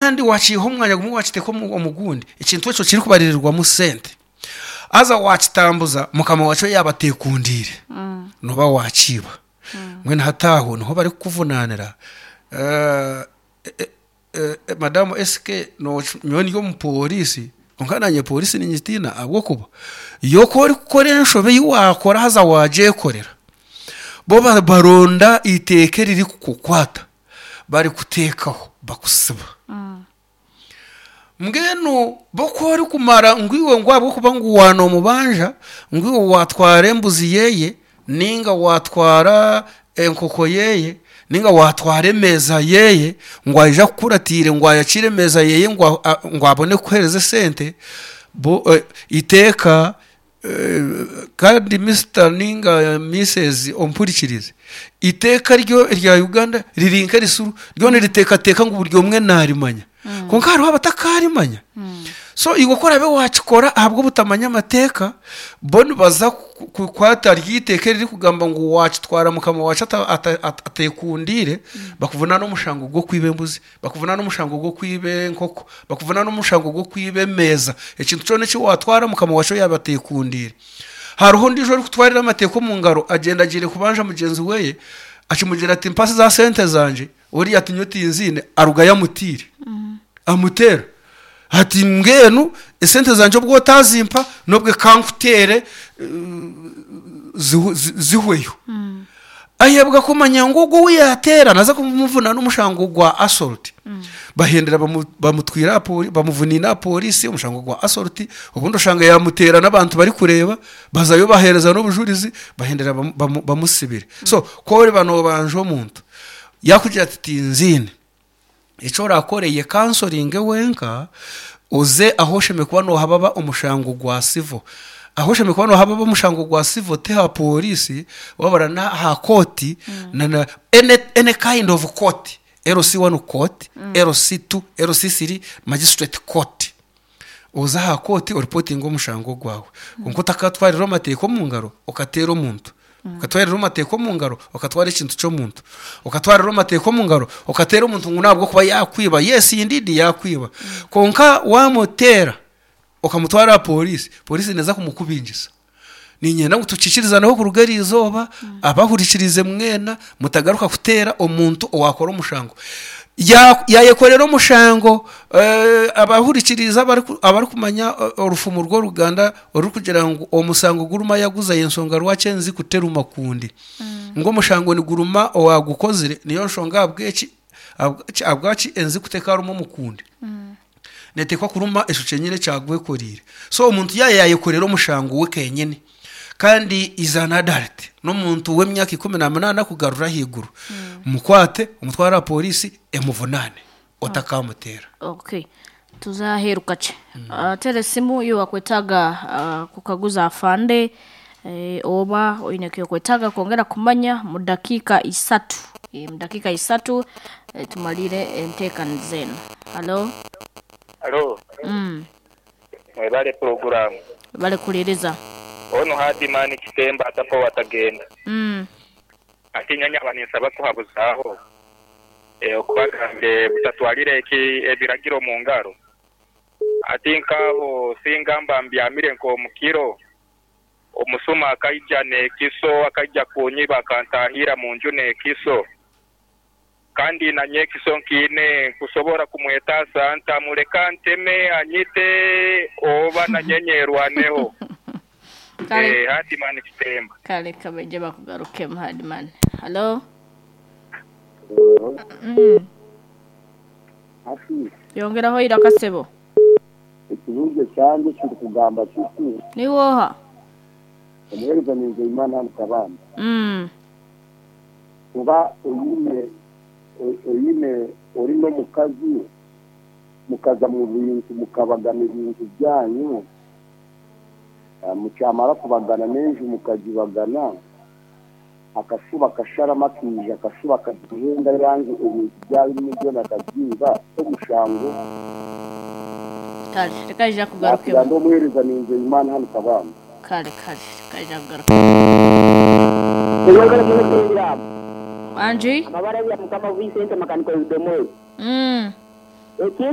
Kandi waakiiha omu mwanya gumwe waakiteeka omu gundi, ekintu ekyo kirikubaririrwamu sente. Haza waakitambuza mukama waakyo yaaba ateekundiire, nooba waakiiba. Mbwenu hati aho niho barikukuvunaanira. Madamu SK nyowe ndi omupooriisi kwonka naanye pooriisi niingitiina ahabw'okuba yo ku orikukora enshobe ei waakora haza waagyekorera, bo baronda eiteeka eririkukukwata barikuteekaho bakusiba. Mbwenu bo ku orikumara ngu iwe ngu ahabw'okuba ngu waanoomubanja ngu iwe waatwara embuzi yeeye ninga waatwara enkoko yeeye ninga waatwara emeeza yeeye ngu aije akukuratiire ngu ayakiire emeeza yeeye ngu abone kukuheereza esente, bo eiteeka Kandi Mister ninga Misses ompurikirize, eiteeka ryo erya Uganda riri nk'erisuru, ryo niriteekateeka ngu buri omwe naarimanya. Kwonka hariho abatakarimanya. So iwe ku oraabe waakikora ahabw'obutamanya amateeka, bo nibaza kukwata ryo eiteeka eririkugamba ngu waakitwara mukama waakyo ateekundiire, bakuvunaane omushango gw'okwiba embuzi. Bakuvunaana omushango gw'okwiba enkoko, bakuvunaana omushango gw'okwiba emeeza, ekintu kyona eki waatwara mukama waakyo yaaba ateekundiire. Hariho ondiijo orikutwarira amateeka omu ngaro agyenda agiire kubanja mugyenzi we, akimugira ati mpa za sente zangye, oriya ati nyowe tinziine, arugayo amutiire, amuteera ati mbwenu esente zangye obu otazimpa nobwe ka nkuteere zihweyo. Ayebwa kumanya ngu ogwo ou yaateera naaza kumuvunaana omushango gwa assault. Bahendera bamutwire aha pori bamuvuniine aha pooriisi omushango gwa assault, obundi oshanga yaamuteera n'abantu barikureeba, bazayo baheereza n'obujurizi bahendera bamusibire. So ku oriba noobanja omuntu yaakugira ati tinziine, Eki orakore ye kansoringe wenka oze ahu oshemereire kuba nohababa omushango gwa civil. Ahu oshemereire kuba nohababa omushango gwa civil ti aha pooriisi wabura n'aha kooti na na any any kind of court, LC1 court, LC2, LC3, magistrate court. Oze aha kooti oripotinge omushango gwawe. Kwonka otakatwarira amateeka omu ngaro okateera omuntu. Okatwarira amateeka omu ngaro okatwara ekintu ky'omuntu. Okatwarira amateeka omu ngaro okateera omuntu ngu n'ahabw'okuba yaakwiba. Yes indeed yaakwiba. Kwonka waamuteera okamutwara aha pooriisi, pooriisi neeza kumukubingisa. Niinyenda ngu tukikirizaneho kuruga eri izooba, abahurikiriize mwena mutagaruka kuteera omuntu owaakora omushango. Yaayekorera omushango, abahurikiriize abarikumanya orufumu rw'oruganda orurikugira ngu omusango guruma yaguza y'enshonga rwaki enziku teruma kundi. Ngu omushango niguruma owaagukozire niyo nshonga ahabw'eki ahabwaki enziku tekaaruma omukundi. Neeteekwa kuruma ekyo kyenyine ekyagwekoreire. So omuntu yaaba yaayekorera omushango we kenyine kandi is an adult, n'omuntu w'emyaka 18 kugarura ahaiguru, mukwate omutware aha pooriisi emuvunaane otakamuteera. Okay. Tuze aheeru kakye. Teera esimu iwe wakwetaaga kukaguza afande oba oine ekyokwetaaga kwongera kumanya mu dakiika isatu. Mu dakiika isatu tumalire enteekaniza enu. Halo? Halo. Mwebale pulogulaamu. Webale kuhuliriza. Onu Hardman Kitemba atafa owatagenda. Ati nyowe nyaba ninsaba kuhabuzaaho okubagambire butatwalira ebiragiro omu ngaro. Ati nk'aho singa mba mbyamire nk'omu kiro, omusuma akaija n'ekiso akaija kunyiba akantahirra mu nju n'ekiso. Kandi nanye ekiso nkiine, nkusobora kumwetaasa nta? Muleka nteme anyite oba nanye nyerwaneho? Kale. Eh, Hardman Kitemba. Kale kabaije bakugarukemu Hardman. Halo? Hati. Yongeraho eiraka sebo. Ekibuuzo kyangye kirikugamba kiti. Niiwe oha? Omuheereza ni Nzeyimana hanu Kabamba. Oba oine oine ori n'omukazi mukaza mu bintu mukabagana ebintu byanyu, mukyamara kubagana n'enju mukagibagana, akashuba akasharamu akaija akashuba akagihenda yange ebintu byaba ebirimu byona akabyiba, t'omushango? Kale, reka aija Nakugira kugarukemu. ndi omuheereza ni Nzeyimana hanu Kabamba. Kale, kale, reka aija kugarukemu. Mwebale muno pulogulaamu. Wangi? Amabara ya Mukama Vincent Makanika Orudomori. Ekintu.